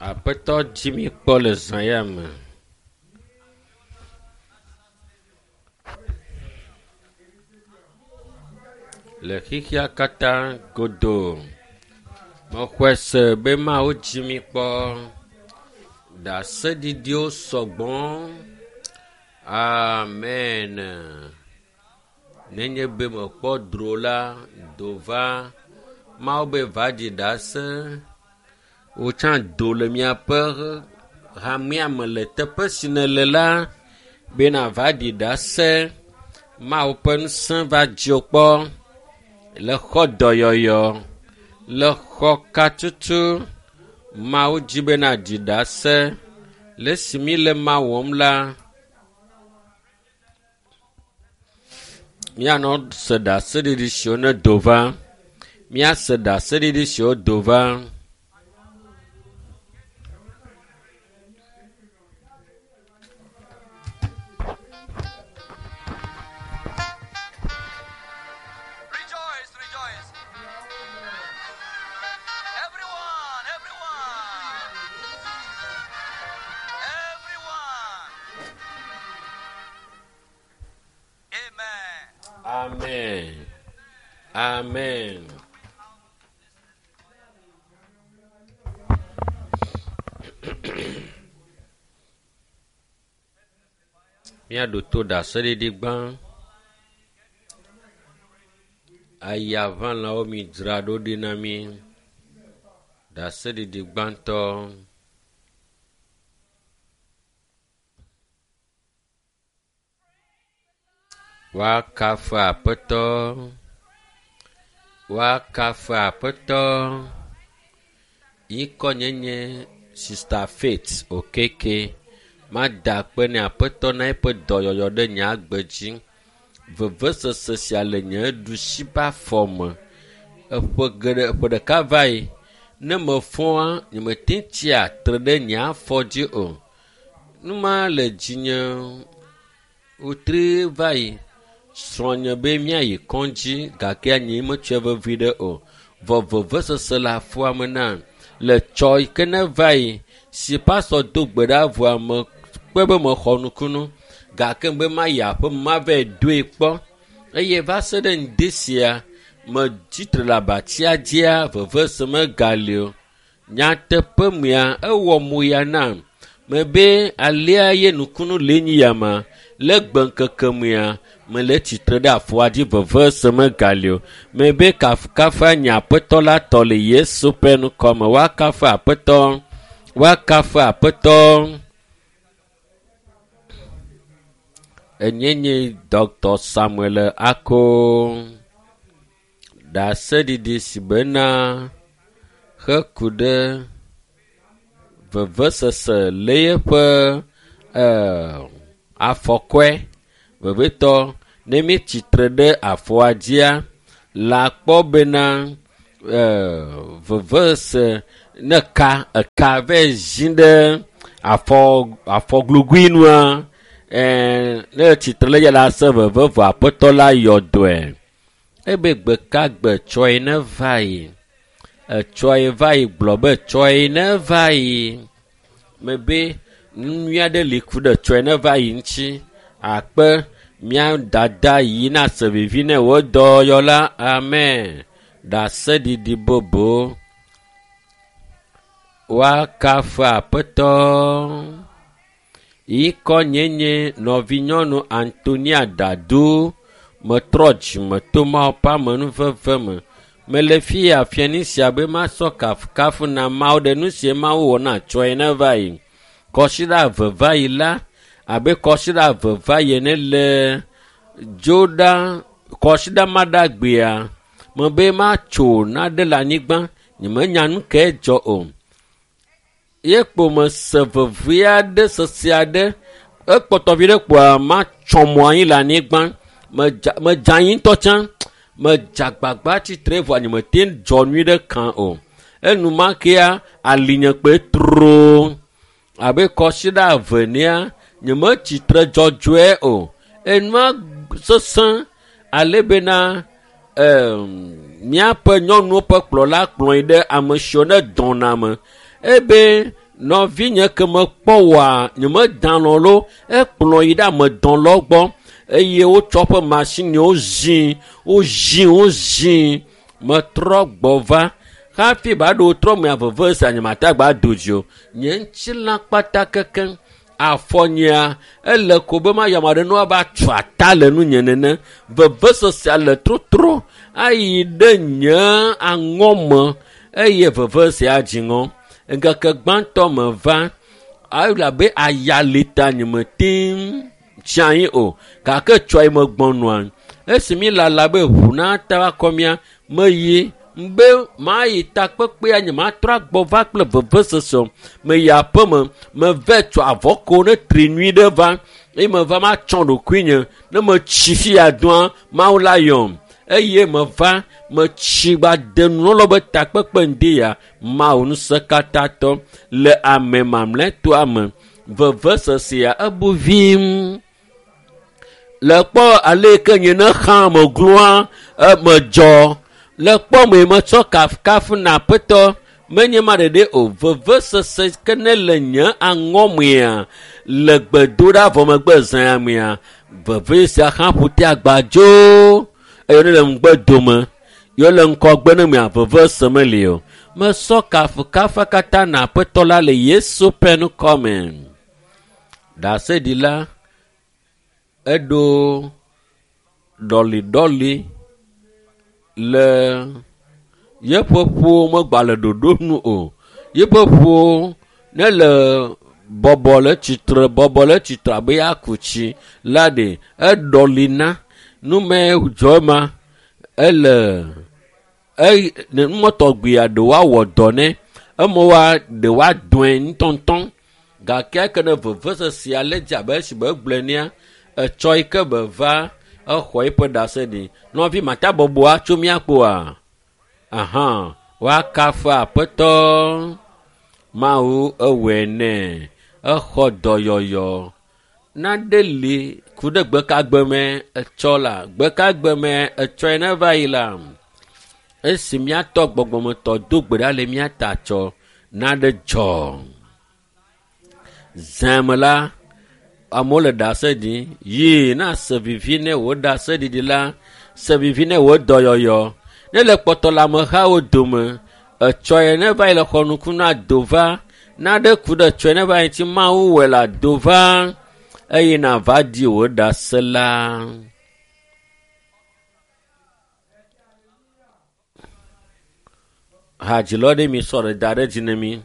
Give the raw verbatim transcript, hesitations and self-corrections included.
Aƒetɔ dzi mi kpɔ le zã ya me. Le xexea katã godoo. Mexɔe se be Mawu dzi mi kpɔ. Ɖaseɖiɖiwo sɔgbɔ. Amen. Nenye be mekpɔ dro la, do va. Mawu be va ɖi ɖase. Wotsã do le miaƒe hamea me le teƒe si nèle la bena va ɖi ɖase. Mawu ƒe ŋusẽ va dziwò kpɔ le xɔ dɔyɔyɔ, le xɔ katutu. Mawu dzi bena ɖi ɖase. Le esi mi le ma wɔm la, míanɔ se ɖaseɖiɖi siwo ne do va. Míase ɖaseɖiɖi siwo do va. Rejoice, rejoice. Everyone, everyone. Everyone. Amen. Amen. Amen. Míaɖo to ɖaseɖiɖi gbã. Ayaʋãlawo mi dzra ɖo ɖi na mí. Ɖaseɖiɖi gbãtɔ. Woakafu Aƒetɔ. Woakafu Aƒetɔ. Ŋkɔnyenye Sista Faith Okeke. Mada akpe ne Aƒetɔ na eƒe dɔyɔyɔ ɖe nye agbe dzi. Vevesese sia le nye ɖusi ƒe afɔ me. Eƒe geɖe ƒe ɖeka va yi. Ne mefɔa, nyemete ŋu tsia tre ɖe nye afɔ dzi o. Nu ma le dzinye wotri va yi. Srɔ̃nye be míayi kɔdzi gake nye metsɔe vevi ɖe o. Vɔ vevesese le afɔa me nam. Le tsɔ yi ke ne va yi si pastor do gbe ɖa vɔa me kpɔe be mexɔ nukunu gake be mayi aƒe me mavae doe kpɔ eye va se ɖe ŋdi sia metsitre le abatsia dzia vevese megali o. Nyateƒe mea ewɔ moya nam mebe alea ye nukunu le nyi ya ma le gbe ŋkeke mea mele tsitre ɖe afɔa dzi vevese megali o. Mebe kafukafu nye aƒetɔ la tɔ le Yesu ƒe ŋkɔme. Woakafu aƒetɔ, woakafu aƒetɔ. Enye nye Dr. Samuel Ako. Ɖaseɖiɖi si bena heku ɖe vevesese le yeƒe eh, afɔkɔe vevitɔ ne míetsitre ɖe afɔa dzia la kpɔ bena eh, vevese ne ka eka vɛ zi ɖe afɔ afɔglugui nua eh, ne tsitre ɖe dzi la se veve vɔ aƒetɔ la yɔ dɔe. Ebe gbe ka gbe tsɔe ne va yi. Etsɔe va yi gblɔ be tsɔe ne va yi. Mebe nu nyui aɖe li ku ɖe tsɔe ne va yi ŋuti. Akpe mía dada yi na se vivi ne wò dɔyɔla. Amen. Ɖaseɖiɖi bobo. Woakafu Aƒetɔ. Ŋkɔnyenye nɔvinyɔnu Antonia Dado. Metrɔ dzime to Mawu ƒe amenuveve me. Mele fi ya fiani sia be masɔ kafukafu na Mawu ɖe nu si Mawu wɔ na tsɔe ne va yi. Kɔsiɖa eve va yi la, abe kɔsiɖa eve va yi ene le dzoɖa kɔsiɖa ma ɖa gbea, mebe matso naɖe le anyigba, nyemenya nu kae dzɔ o. Ye kpo mese veve aɖe sese aɖe ekpɔtɔ vi ɖe kpoa matsɔ mo anyi le anyigba. Medza medze anyi ŋutɔ tsã. Medze agbagba tsitre vɔa nyemete ŋu dzɔ nyui ɖe kã o. Enumakea alinye kpe tro abe kɔsiɖa eve nea nyemetsitre dzɔdzɔe o. Enua sesẽ ale bena em, míaƒe nyɔnuwo ƒe kplɔla kplɔe ɖe ame siwo ne dɔna me. Ebe Nɔvinye ke mekpɔ woa, nyemedanɔ lo, ekplɔ yi ɖe amedɔlɔ gbɔ eye wotsɔ ƒe masiniwo zi, wozi, wozi. Metrɔ gbɔ va hafi ba ɖo trɔ mea veve sia nyemate agba do dzi o. Nye ŋutilã kpata kekeŋ. Afɔ nyea ele ko be mayɔ ame aɖe ne woava tu ata le nunye nene. Vevesesea le trotro ayi ɖe nye aŋɔme eye vevesea dzi ŋɔ. Ŋkeke gbãtɔ meva elabe aya li ta nyemete ŋu tsi anyi o gake tsɔ yi megbɔnɔa. Esi mi lala be ʋu nata va kɔ mía, meyi be mayi takpekpea nyematrɔ agbɔ va kple vevesese o. Meyi aƒeme, meve tsɔ avɔ ko ne tri nyui ɖe va eye meva matsɔ ɖokuinye ne metsi fia doa Mawu la yɔm. Eye meva metsi gba de nunɔlawo be takpekpe ŋdi ya Mawu ŋusẽkatãtɔ le ame mamlɛtɔa me. Vevesesea ebu vim. Le kpɔ ale yi ke nye ne xã me gloa medzɔ. Le kpɔ me metsɔ kafukafu na Aƒetɔ menye ma ɖeɖe o. Vevesese ke ne le nye aŋɔmea le gbedoɖa vɔ megbe zãa mea veve sia hã ƒo te agbadzo eye ne le ŋugbe dome ye le ŋkɔgbe ne mea veve se meli o. Mesɔ kafukafu katã na Aƒetɔ la le Yesu ƒe ŋkɔ me. Ɖaseɖila eɖo ɖɔliɖɔli le yeƒe ƒuwo megba le ɖoɖo nu o. Yeƒe ƒuwo ne le bɔbɔ le tsitre, bɔbɔ le tsitre abe yeaku tsi la ɖe eɖɔlina. Nume dzɔ ma ele eye numɔtɔgbea ɖe woawɔ dɔ nɛ eme woa ɖe woadɔe ŋutɔŋutɔ gake eke ne vevesesea le dzi abe esi be egblɔe nea etsɔ yi ke be va exɔ eƒe ɖase ɖi. Nɔvi mata bɔbɔa tso mía kpoa? Aha, woakafu Aƒetɔ Mawu ewɔe nɛ. Exɔ dɔyɔyɔ. Nane li ku ɖe gbekagbe me etsɔ la gbekagbe me etsɔe ne va yi la esi míatɔ gbɔgbɔmetɔ do gbe ɖa le mía ta tsɔ nane dzɔ. Zã me la amewo le ɖase ɖim yi na se vivi ne wò ɖaseɖiɖi la se vivi ne wò dɔyɔyɔ ne le kpɔtɔ le amehawo dome etsɔe ne va yi le xɔnuku na do va naɖe ku ɖe tsɔe ne va yi ŋuti Mawu wɔe la do va eye nava di wò ɖase la. Hadzilɔ ɖe mi sɔ ɖe da ɖe dzi ne mi.